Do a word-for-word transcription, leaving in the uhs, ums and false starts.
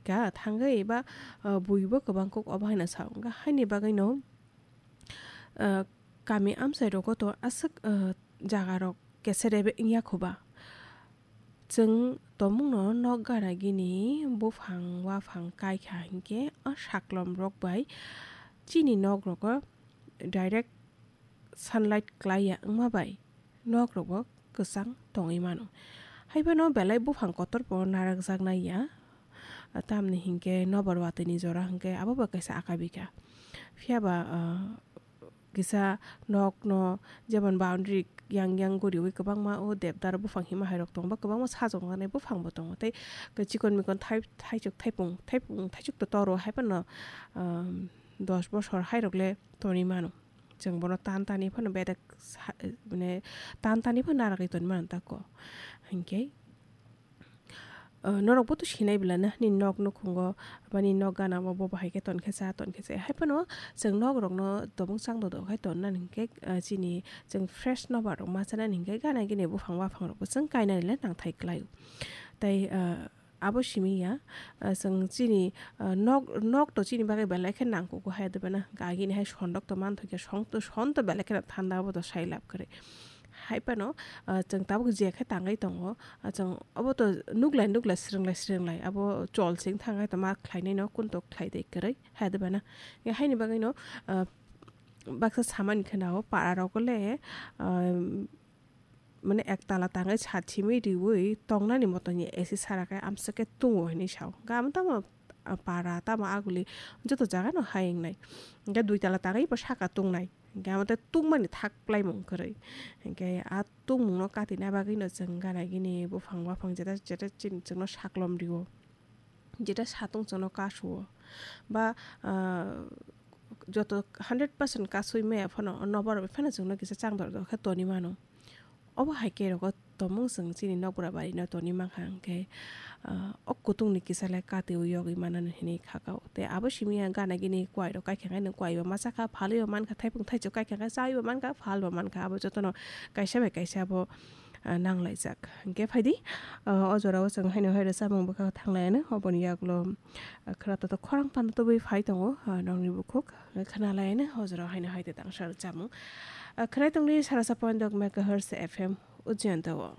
ka thangwi ba, ah, buibo kwbang kok obo haino sa wngkha. Haini bagwino, ah, kami amchai rogo to aswk, ah, jaga rok keserebe wngya kho ba. Chwng tomungno nok gana gini buphang waphang kai kha hinkhe o saklom rok bai chini nok rogo direct sunlight klai ya wngma bai nok rok bo kwchang tongwi mano. Haiphano belai buphang kotor bo narwkjak nai ya, tamni hinkhe nobar watwi ni jora hinkhe abo bo kaisa akabika. Phiya ba, ah, kisa nok no jemon boundary yang yang guriwi kwbangma o debdar buphang hima hai rok tongo ba kwbangma sajoknai buphang bo tongo tei chikon mikon thai-, thaichuk thaipung thaipung thaichuk to toro haiphano, ah, dos bosor hai rok le tonwi mano. Chwng bono tan tani phano bedek sa-, mane tan tani phano narwgwi tonwi mano tako. Hinkhe, ah, norok bo to sinai belai na, nini nok nukhungo, ba nini nok gana o bo bahai khe ton khe cha, ton khe cha. Hai phano chwng nok rok no tobong chang dodok hai ton nani hinkhe, ah, chini chwng fresh nobar rok ma chanani hinkhe gana gini buphang waphang rok bo chwng kainani le nangthai kwlai o. Tei, ah, abo simi ya, ah, chwng chini, ah, nok, nok to chini bagwi belai khe nangkugo hai de bana. Agini hai sondok to manthokya, song to, son to belai kheno thanda, abo to sai lab kwrwi. Hai phano, ah, chwng tabuk je khe tangwi tongo, ah, chwng obo to nuklai nuklai, srwnglai srwnglai, abo chol sing thangai to ma khlainai no, kun to khlai de kwrwi hai de bana. Haini bagwi no, ah, baksa samani kheno para rok le, ah, mane ektala tangwi sathimwi riwi tongnani moto ni A C sara khe amswk khe tungo hinwi sao. Hwnkhe amo tamo, ah, para tamo aguli joto jaga no hai wngnai. Hwnkhe duitala tangwi bo saka tungnai. Hwnkhe amo tei tungmani thak plaimung kwrwi. Hwnkhe a tungmung no katina bagwi no chwng gana gini buphang waphang jeta jeta chini chwngno saklom rio. Jeta satung chwngno kasuo. Ba, ah, joto hundred percent kasui maya phano nobar bai phano chwngno kisa chang dor dor khe toni mano. Obo hai khe rogo tomung chwng chini nokbura bari no toni mankha hwnkhe, ah, o kutung ni kisa le katiui yogwi manani hinwi khakao. Tei abo simi ya gana gini kwai rok kaikha khe nwng kwai bo masa kha, phalwi bo mankha, thaipung thaichuk kaikha khe chaui bo mankha, phal bo mankha, abo jotono kaisa bai kaisa bo, ah, nanglaijak. Hwnkhe phaidi, ah, o jorao chwng haino hai rw chamung bwkha thanglaianw, oboni yagulo, ah, khwra totok khorang panda tubui phai tongo, ah, nokni bukhuk. Khwnalaianw o jorao haino hai tei tangsa rw chamung. Ah, khwnai tongdi sarasa point dok megahertz F M Ujjayanta o.